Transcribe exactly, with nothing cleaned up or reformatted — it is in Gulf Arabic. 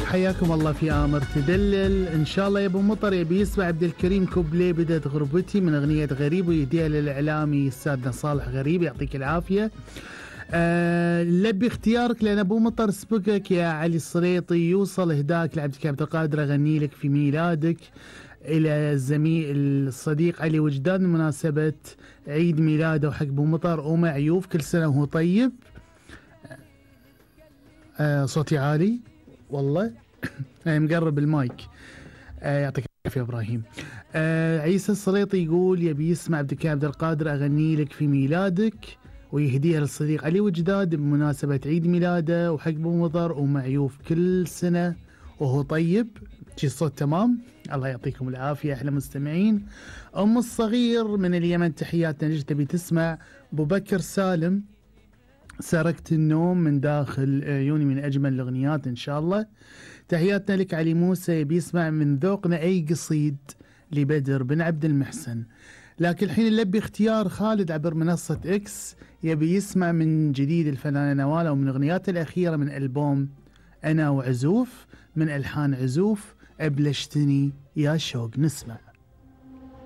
حياكم الله في آمر تدلل. إن شاء الله يا أبو مطر يبي يسمع عبد الكريم كوبلي بدت غربتي من أغنية غريب، ويهديها للإعلامي أستاذنا صالح غريب يعطيك العافية. آه لبي اختيارك لأن أبو مطر سبقك يا علي الصريطي، يوصل إهداك لعبد عبد القادر أغني لك في ميلادك إلى الزميل الصديق علي وجدان بمناسبة عيد ميلاده وحق أبو مطر ومعيوف، كل سنة وهو طيب. آه صوتي عالي والله مقرب المايك. آه يعطيك العافية إبراهيم. آه عيسى الصريطي يقول يبي يسمع عبد عبد القادر أغني لك في ميلادك ويهديها للصديق علي وجداد بمناسبة عيد ميلاده وحق أبو مطر ومعيوف كل سنة وهو طيب. شي الصوت تمام؟ الله يعطيكم العافية أحلى مستمعين. أم الصغير من اليمن تحياتنا ليش تبي تسمع أبو بكر سالم سرقت النوم من داخل عيوني من أجمل الأغنيات إن شاء الله. تحياتنا لك علي موسى يبي يسمع من ذوقنا أي قصيد لبدر بن عبد المحسن. لكن الحين نلبي اختيار خالد عبر منصة إكس يبي يسمع من جديد الفنانة نوال ومن أغنيات الأخيرة من ألبوم أنا وعزوف من ألحان عزوف أبلشتني يا شوق. نسمع.